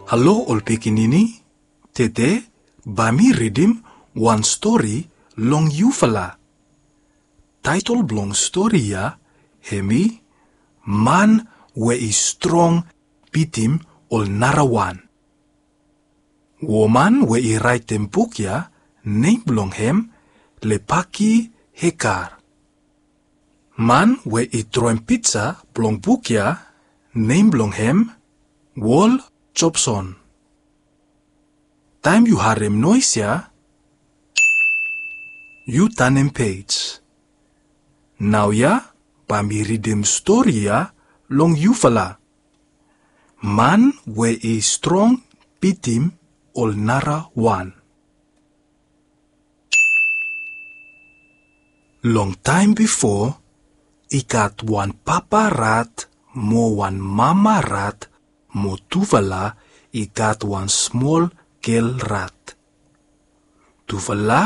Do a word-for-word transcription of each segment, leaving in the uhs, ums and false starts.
Halo ol pikinini, tede bae mi ridim wan stori long yufala. Taetol blong stori ya hemi Man we i strong bitim ol narawan. Woman we i raetem buk ya, nem blong hem Lepaki Hekar. Man we i droem pija blong buk ya, nem blong hem Wol Jobson. Taem yu harem noes ya, yu tanem pej. Naoia bae mi ridim stori ya long yufala. Man we i strong bitim ol narawan. Long taem bifo, i gat wan papa rat mo wan mama rat mo tufala i gat wan smol gel rat. Tufala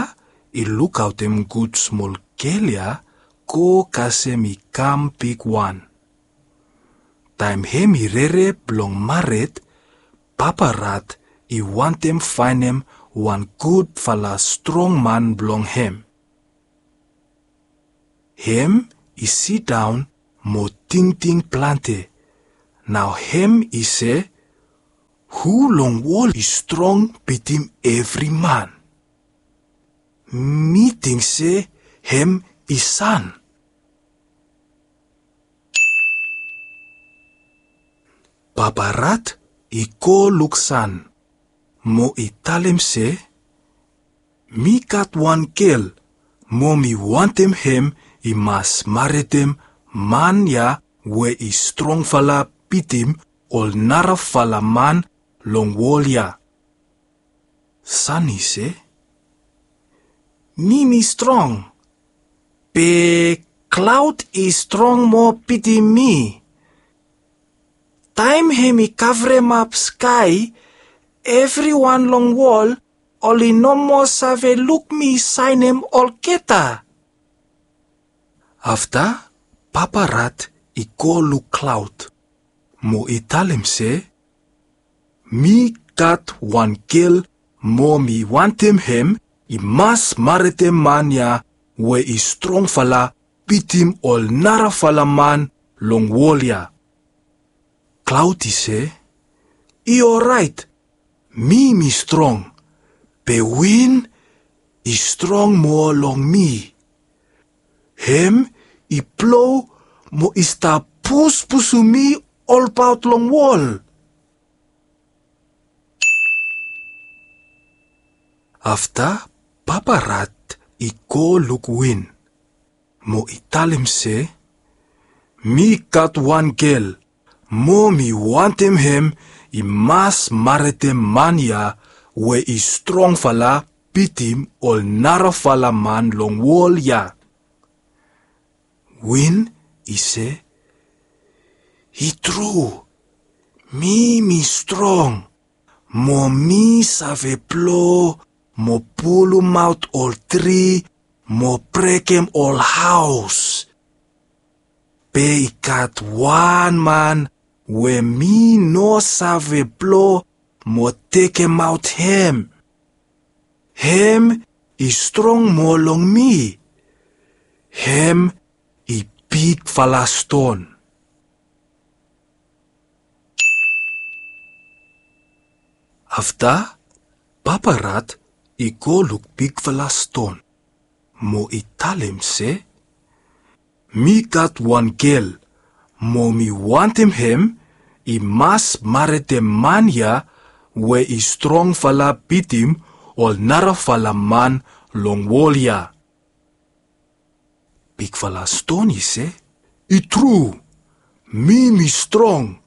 i lukaotem gud smol gel ya go kasem i kam bigwan. Taem hem i rere blong mared, papa rat i wantem faenem wan gudfala strong man blong hem. Hem i sidaon mo tingting plante. Nao hem i se, hu long wol i strong bitim evri man? Mi ting se hem i san. Papa rat i go luk san mo i talem se, mi gat wan gel mo mi wantem hem i mas maredem man ya we i strongfala bitim ol narafala man long wol ya. San i se, mi mi strong, be klaod i strong moa bitim mi. Taem hem i kavremap skae, evriwan long wol oli no moa save luk mi saenem olgeta. Afta papa rat i go luk klaod mo i talem se, mi gat wan gel mo mi wantem hem i mas maredem man ya we i strongfala bitim ol narafala man long wol ya. Klaod i se, i oraet, mi mi strong, be win i strong moa long mi. Hem i blo mo i stap puspusum mi olbaot long wol. Afta papa rat i go luk win mo i talem se, mi gat wan gel mo mi wantem hem i mas maredem man ya we i strongfala bitim ol narafala man long wol ya. Win i se, i tru, mi mi strong, mo mi save blo mo pulumaot ol tri mo brekem ol haos. Be i gat wan man we mi no save blo mo tekemaot hem. Hem i strong moa long mi. Hem i bigfala ston. Afta papa rat i go luk bigfala ston mo i talem se, mi gat wan gel mo mi wantem hem i mas maredem man ya we i strongfala bitim ol narafala man long wol ya. Bigfala ston i se, i tru, mi mi strong,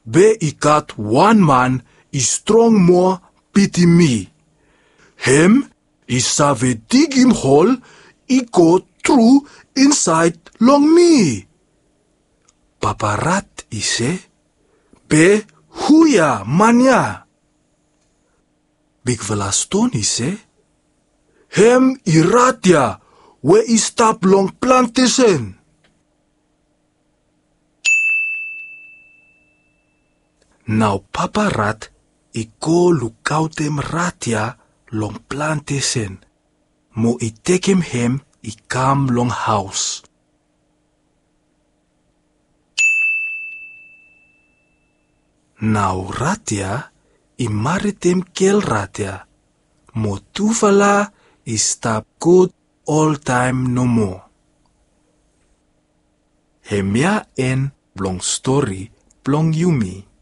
be i gat wan man i strong moa bitim mi. Hem i save digim hol i go tru insaed long mi. Papa rat i se, be hu ya man ya? Bigfala ston i se, hem i rat ya we i stap long plantesen. Nao papa rat i go lukaotem rat ya long plantesen mo i tekem hem i kam long haos. Nao rat ya i maritem gel rat ya mo tufala i stap gud oltaem nomo. Hemia en blong stori blong yumi.